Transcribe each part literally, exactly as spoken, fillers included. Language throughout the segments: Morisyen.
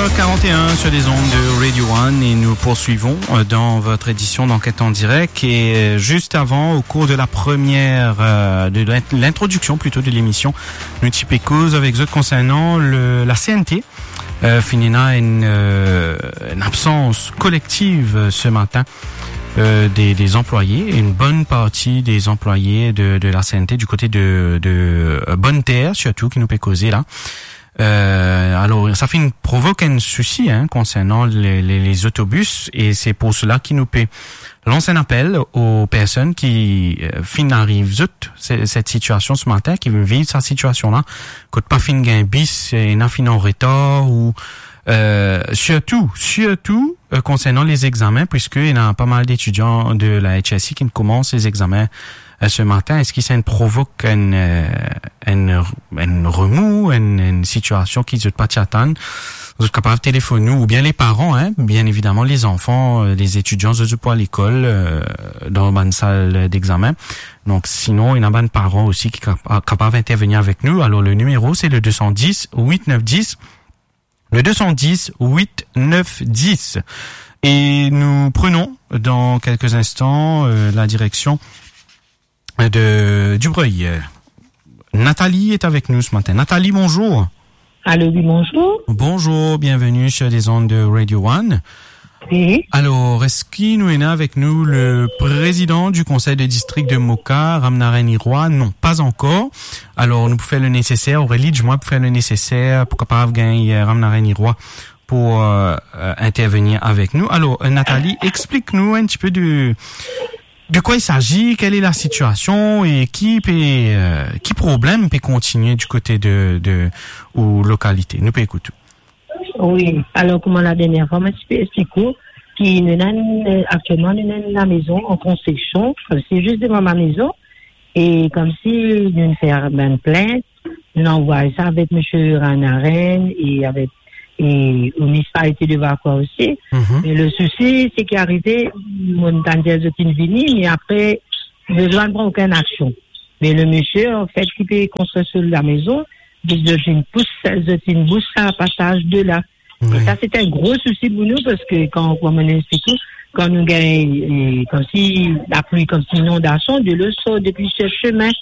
Quarante et un sur les ondes de Radio One et nous poursuivons euh, dans votre édition d'Enquête en direct. Et euh, juste avant, au cours de la première, euh, de l'int- l'introduction plutôt de l'émission, nou ti pe koz avek zot concernant le, la C N T. Euh, finn ena une, euh, une absence collective euh, ce matin euh, des, des employés, une bonne partie des employés de, de la C N T du côté de, de euh, Bonne Terre, surtout, ki nou pe koze la. Euh, alors, ça fait une provoque un souci hein, concernant les, les, les autobus et c'est pour cela ki nou pe lans enn apel aux personnes ki euh, finn ariv zot se- cette situation ce matin, ki viv sa situation la, kot pa finn gagn bis, ena finn an retar ou euh, surtout, surtout euh, concernant les examens, puisque il y a pas mal d'étudiants de la H S I qui commencent les examens euh, ce matin. Est-ce que ça provoque une, euh, une, une remous, une, une situation ki zot pa ti atann? Zot kapav telefone nou, oubien les parents, hein, bien évidemment, les enfants, euh, les étudiants, zot pou al lekol euh, dan bann sal d'examen. Donc, sinon, il y a bann parents aussi ki kapa- kapav intervenir avec nous. Alors, le numéro, c'est le deux cent dix, huit neuf dix. Le deux cent dix, huit neuf dix. Et nous prenons dans quelques instants euh, la direction de Dubreuil. Nathalie est avec nous ce matin. Nathalie, bonjour. Allô, oui, bonjour. Bonjour, bienvenue sur les ondes de Radio One. Oui. Alors, est-ce qu'il nous est avec nous le président du conseil de district de Moka, Ramnarain Irois? Non, pas encore. Alors, nou pou fer le nécessaire, Aurélie, dis-moi, pou fer le nécessaire, pou kapav gagn euh, Ramnarain Irois pour euh, euh, intervenir avec nous. Alors, euh, Nathalie, explique-nous un petit peu de, de quoi il s'agit, quelle est la situation et qui, peut, euh, qui problème peut continuer du côté de, de ou localité. Nou pe ekout ou. Oui, alors, comme la dernière fois, moi, je peux expliquer que nous avons euh, actuellement nous avons la maison en construction, c'est juste devant ma maison, et comme si nous faire une plainte, nou anvoy sa avek Msye Ramnarain e avek e ou municipalité de Vacoas aussi. Mhm. E le souci, se ki arive, mo tann dir zot inn vini, me apre, zot pa pran okenn aksion. Me le misie, anfet, ki pe konstrir so lamezon, li dir zot inn pous, zot inn bous sa pasaz de la. E sa, se enn gro sousi pou nou, parski kan, kouma mo explike ou, kan nou gagn, e, koumsi lapli, koumsi inondasion, delo sort depi sel semin,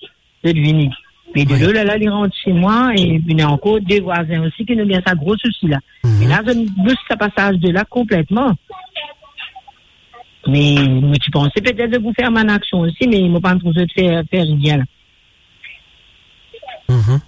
zot vini. Me delo la, la, li rant se mwa, e ena ankor de vwazin osi ki nou gagn sa gro sousi la. Mhm. E la, zot bous sa pasaz de la konpletman. Me mo ti panse petet zot pou fer bann aksion osi, me mo pa trouv zot fer, fer rien la. Mhm.